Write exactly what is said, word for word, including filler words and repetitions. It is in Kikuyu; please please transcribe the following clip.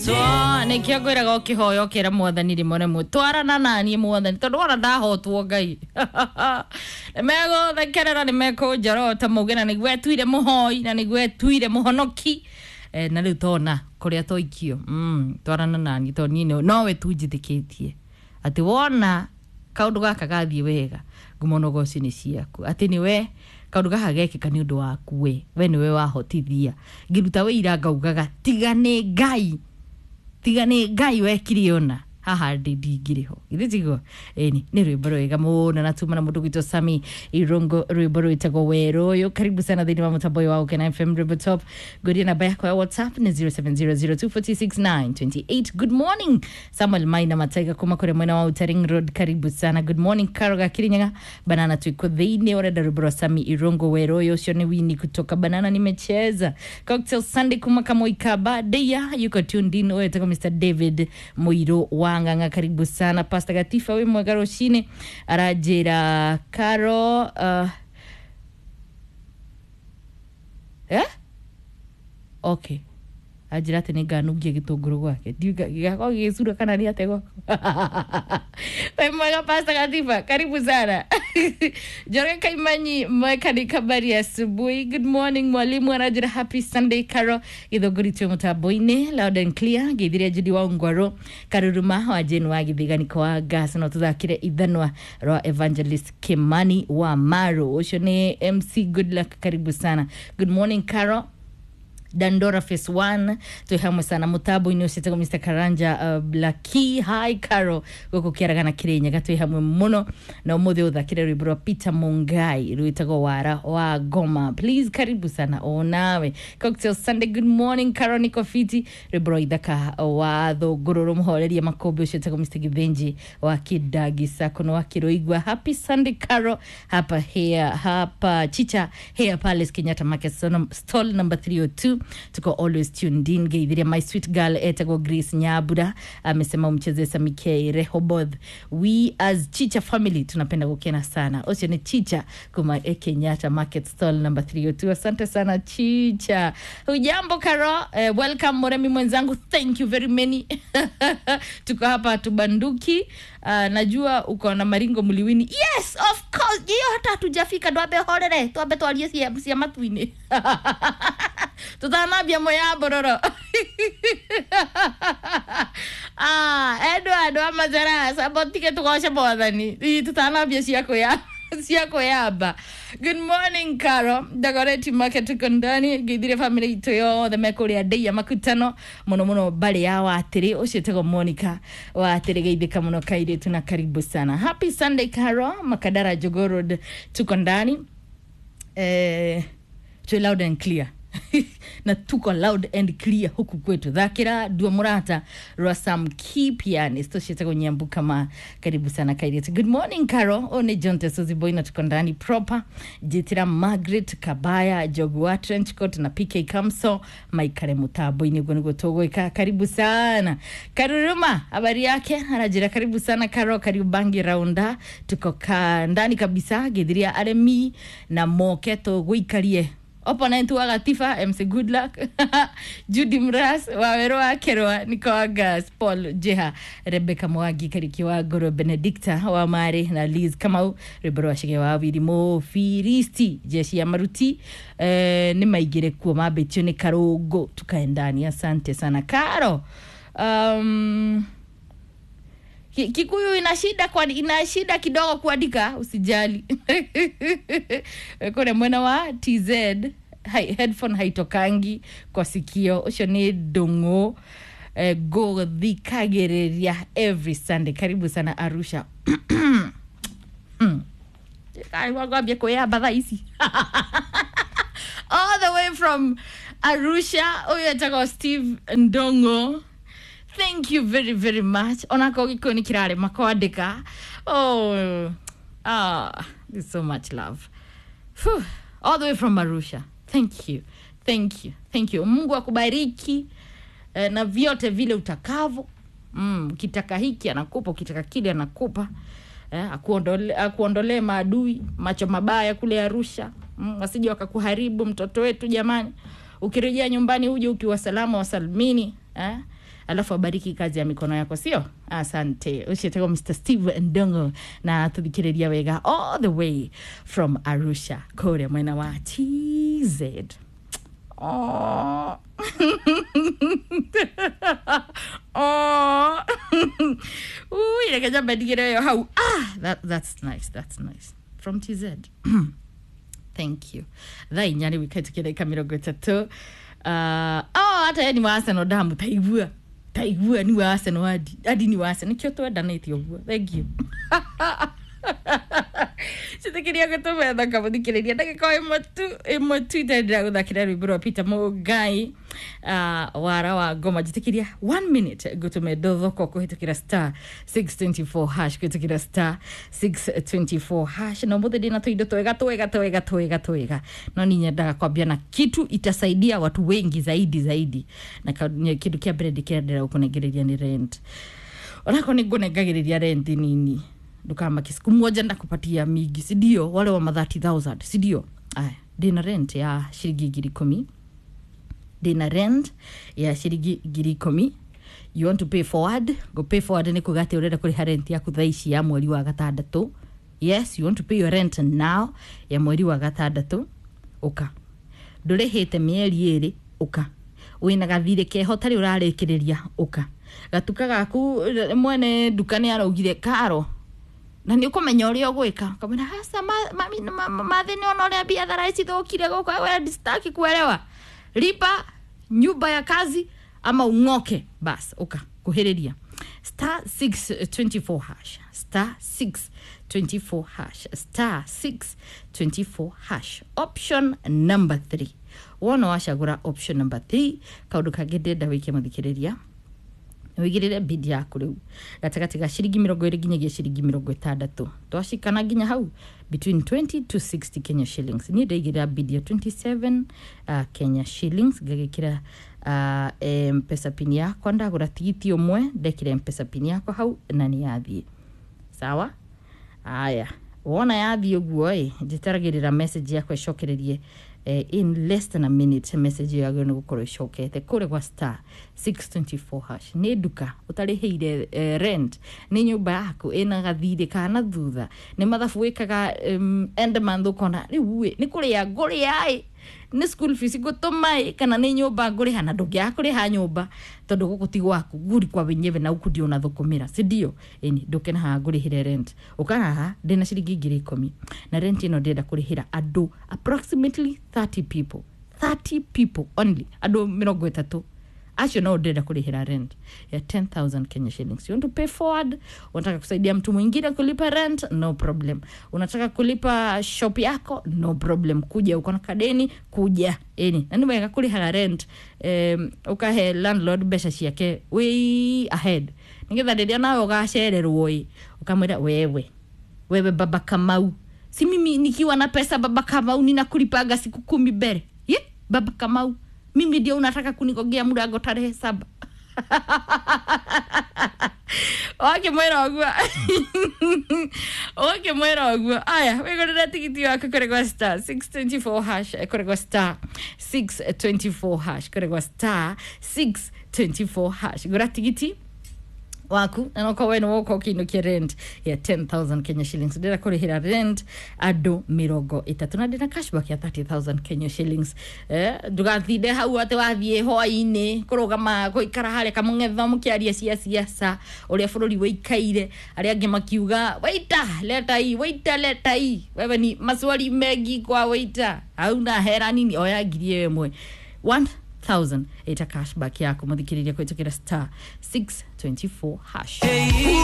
Nikio ngwiraga ukihoya ukira Mwathani rimwe rimwe twarana nanie Mwathani, tondu wona ndahotwo Ngai nimegũthekerera, nimekũnjorota mauge na nĩguo etuire mũhoi na nĩguo etuire mũhonoki. Eh, na rĩu tona kũrĩa twaikio, mm, twarana naniĩ tondũ niĩ nowe tu njĩtĩkĩtie atĩ wona kaũndũ gaka gathiĩ wega ngumo na ũgoci nĩ ciaku, atĩ nĩwe kaũndũ gaka gekĩka nĩ ũndũ waku we we nĩwe wahotithia. Ngĩruta wĩira ngaugaga tiga nĩ Ngai, tiga nĩ Ngai wekire ona haha ndĩ ndingĩrĩ ho, githĩ tiguo? Ĩni nĩ rwĩmbo rwega mũno na tuma na mũndũ gwitwo Sami Irungu, rwĩmbo rwĩtagwo Werũ ũyũ. Karibu sana thĩinĩ wa mũtambo ũyũ wa Ũkena F M Rwĩmbo Top. Ngũria namba yakwa ya WhatsApp nĩ zero seven zero zero two four six nine two eight. Good morning Samuel Maina Mataiga kuma kũrĩa mwena wa Outer Ring Road, karibu sana. Good morning Karo Gakirinyaga Banana, tuiko thĩinĩ ũrenda rwĩmbo rwa Sami Irungu Werũ ũyũ, ũcio nĩ Wini kutoka Banana. Nimecheza Cocktail Sunday kuma Kamoikaba Deya yuko tuned in, ũyũ etagwo Mister David Mũirũ wa Ng'ang'a, karibu sana. Pastor Gatifa wĩ mwega rũcinĩ, aranjĩra Karo, uh, eh? Okay, anjĩra atĩ nĩ nganungia gĩtũngũrũ gwake, gĩgakorwo gĩgĩcura kana nĩ atĩ gwakwa. Wĩ mwega Pastor Gatifa, karibu sana. Njoroge Kaimanyi Mwekani, habari ya asubuhi. Good morning mwalimu, anajira happy Sunday Caro Githũngũri, twĩ mũtambo-inĩ loud and clear. Ngeithirie Judy wa Ngwaro Karuruma wa Jane wa Githiganiko wa Gas, no tũthakire ithanwa rwa Evangelist Kimani wa Maru, ũcio nĩ M C Good Luck, karibu sana. Good morning Caro Dandora Phase one, twĩ hamwe sana mũtambo-inĩ ũcio etagwo Mister Karanja uh, Blaki. Hi Caro gũkũ kĩaragana Kĩrĩnyaga, twĩ hamwe mũno na ũmũthĩ ũthakire rwĩmbo rwa Peter Mungai rwĩtagwo Wara wa Ngoma please, karibu sana onawe. Cocktail Sunday, good morning Caro, niko fiti, rwĩmbo rwa Ithaka wa Thũngũrũrũ mũhoreria makũmbĩ, ũcio etagwo Mister Githinji wa Kidagi Sako wa Kĩrũigua. Happy Sunday Caro, hapa here hapa Chicha Hair Palace Kenyatta Market stall number three oh two, tuko always tuned in. Geithiria my sweet girl etagwo Grace Nyabura, amesema umcheze Samike Rehoboth. We as Chicha family tunapenda kukena sana. Ucio ni Chicha kuma eh, Kenyatta Market stall number three oh two. Asante sana Chicha. Hujambo Karo, eh, welcome Moremi mwenzangu, thank you very many. Tuko hapa tubanduki. Uh, najua uko na maringo mliwini. Yes, of course, hiyo hata hatujafika, twambe horere, twambe twarie cia cia matu-inĩ tutanambia moya bororo. Ah, Edward wa Mazara sabotike, tugoce Mwathani. Ii, tutanambia cia kwĩa cia kwĩyamba. Good morning Caro Dagoretti Market, tuko ndani. Ngeithire family itũ yothe mekũrĩa ndeia makutano mũno mũno mbarĩ ya Watĩrĩ, ũcio etagwo Monica Watĩrĩ, geithĩka mũno kairĩtu na karibu sana. Happy Sunday Caro Makadara Jogoo Road, tuko ndani, eh, twĩ loud and clear na tuko loud and clear huku kwetu. Thakira Dua Murata rwa Sam Key pianist, ũcio Nyambu kama, karibu sana kairĩtu. Good morning Caro, o nĩ John Tesozi Boy na tuko ndani proper. Njĩtĩra Margaret Kabaya Jogua Trenchcoat na P K Kamso maikare mũtambo-inĩ, ũguo nĩguo tũgwĩka. Karibu sana Karuruma, habari yake, anajira karibu sana Caro Kariubangi Raunda, tuko ka ndani kabisa. Githiria aremi na moke tũgũikarie opponent wa Gatifa M C Goodluck, Judy Mras Wawero wa Kerwa Niko Gas Paul Jeha Rebecca Mwagi Kariki wa Goro Benedicta wa Mare na Liz Kamau, rwĩmbo rwa Cege wa Wirimu Firisti jeshi ya maruti, eh, nĩ maingĩre kuo mambĩtio nĩ Karũngũ, tukaendani. Asante sana Karo. um, Ki- Kikuyu ina shida kwa, ina shida kidogo kuandika, usijali. Kule mwena wa T Z hai, headphone haitokangi kwa sikio, ucio ni Ndung'u, eh, ngũthikagĩrĩria every Sunday, karibu sana Arusha. Ngwambia kwĩyamba thaa ici all the way from Arusha, ũyũ etagwo Steve Ndongo, thank you very very much. Onako gĩkũyũ nĩ kĩrarema kwandĩka. Oh, ah, there's so much love. Phew, all the way from Arusha, thank you, thank you, thank you. Mungu akubariki eh, na vyote vile utakavyo. Mm, ukitaka hiki anakupa, ukitaka kile anakupa, eh, akuondole, akuondolee maadui macho mabaya kule Arusha, mm, wasije wakakuharibu mtoto wetu jamani. Ukirejea nyumbani uje ukiwa salama wasalmini, eh? Alafu abariki kazi ya mikono yako, sio? Asante. Ucio Mister Steve Ndongo na tuthikiriria wega all the way from Arusha kuria mwena wa T Z. Oh. Oh. Ui, reke njambe ndigĩre ĩyo hau. Ah, that, that's nice, that's nice. From T Z. Thank you. Thaa inya rĩu ikaĩtũkia ndagĩka mĩrongo ĩtatũ. Uh, oh, hata ye ni wa Arsenal ndamu taigua. Taigua ni wa Arsenal adi. Adi ni wa Arsenal. Nĩkĩo twendanĩte ũguo. Thank you. Citikiria gũtũmetha kamũthikĩrĩria ndagĩka o ĩmwe tu ĩmwe tu itendera gũthakĩra rwĩmbo rwa Peter Mũngai, uh, wara wa ngoma. Njĩtĩkĩria one minute ngũtũme ndothoko kũhĩtũkĩra star six twenty-four hash, kũhĩtũkĩra star six twenty-four hash. Na ũmũthĩ ndĩna tũindo twega twega twega twega twega, no ni nyendaga kwambia na kitu itasaidia watu wengi zaidi zaidi, na kĩndũ kĩa mbere ndĩkĩrendera gũkũnengereria nĩ rent. Onako nĩ ngũnengagĩrĩria rent nini, ndukamaki siku moja ndakupatia mingi, si ndio? Wale wa ma thirty thousand, si ndio? Aya, ndina rent ya shilingi ngiri ikũmi, ndina rent ya shilingi ngiri ikũmi. You want to pay forward? Go pay forward nĩ kuga atĩ ũrenda kũrĩha rent yaku thaa ici ya mweri wa gatandatũ. Yes, you want to pay your rent now ya mweri wa gatandatũ, ũka. Ndũrĩhĩte mĩeri ĩrĩ, ũka. Wĩna gathirĩ keho tarĩ ũrarĩkĩrĩria, ũka. Gatuka gaku mwene nduka nĩ araugire karo, na nä å kå menya å rä a å gwä ka kamwä hasa mathä nä ona å rä a biathara icithåkire gå we staki kuelewa, lipa nyumba ya kazi ama ung'oke. Bas uka kuhĩrĩria star six twenty-four hash, star six twenty-four hash, star six twenty-four hash, option number three. Wona wacagũra option number three, kaũndũ kangĩ ndĩrenda wĩke mũthikĩrĩria, wigirire bid yaku riu gatagati ga ciringi mirongo iri nginyagia ciringi mirongo itandatu, twacikana nginya hau between twenty to sixty Kenya shillings. Ni ndaigirira bid ya twenty-seven uh, Kenya shillings, ngagikira uh, M-Pesa pin yakwa, ndagura tigiti umwe ndekire M-Pesa pin yakwa hau na ni yathie sawa. Aya, wona yathie uguo i njitaragirira message yakwa icokererie eh, in less than a minute. Message yagä nä gå korwo icokete kå rä gwa star six twenty-four hash. Nä nduka å eh, rent, nä nyå yaku ä gathirä kana thutha, nä mathabu wä kaga um, end month ũkona rä u nä kå rä a ngå rä a nä school fees ngå tå ma kana nä nyå mba ngå rä ha, na ndå ngä aga kå rä ha nyå mba tondå gå kå ti gwaku nguri kwa wenyewe na uku ndio unathũkũmĩra, si ndio? Ĩni ndũke na haha ngũrĩhĩre rent, ũka haha ndĩna ciringi ngiri ikũmi na rent ĩno ndĩrenda kũrĩhĩra andũ approximately thirty people, thirty people only, andũ mĩrongo ĩtatũ acio no ndĩrenda kũrĩhĩra rent ya ten thousand Kenya shillings. You want to pay forward, unataka kusaidia mtu mwingine kulipa rent, no problem. Unataka kulipa shop yako, no problem. Kuja uko na kadeni, kuja. Eni, na niwega kũrĩhaga rent, um, ukahe landlord mbeca ciake way ahead, nigetha rĩrĩa nawe ũgacererwo ĩ ukamwĩra wewe wewe baba Kamau, si mimi nikiwa na pesa baba Kamau ninakulipaga siku kumi mbere. Ye, baba Kamau, mimi ndio unataka kunigogea murango tarehe saba. Wakimwĩra ũguo, wakimwĩra ũguo. Aya, wĩgũrĩre tigiti waku kũrĩ gwa star six twenty-four hash, kũrĩ gwa star six twenty-four hash, kũrĩ gwa star six twenty-four hash. Gũra tigiti waku na nokorwo we nĩ woka ũkĩinũkia rent ya ten thousand Kenya shillings. Ndĩrenda kũrĩhĩra rent andũ mĩrongo ĩtatũ na ndĩna cashback ya thirty thousand Kenya shillings. Eh, ndũgathinde hau atĩ wathiĩ hwaĩ-inĩ kũrũgama gũikara harĩa kamũng'etho mũkĩaria cia siasa ũrĩa bũrũri wĩikaire, arĩa angĩ makiuga waita leta hii, waita leta hii, wewe ni maswali mengi kwa waita, hauna hera nini, oya ngiri ĩyo ĩmwe one thousand ita cashback yako muthikiriria kwitukira star six twenty-four hash.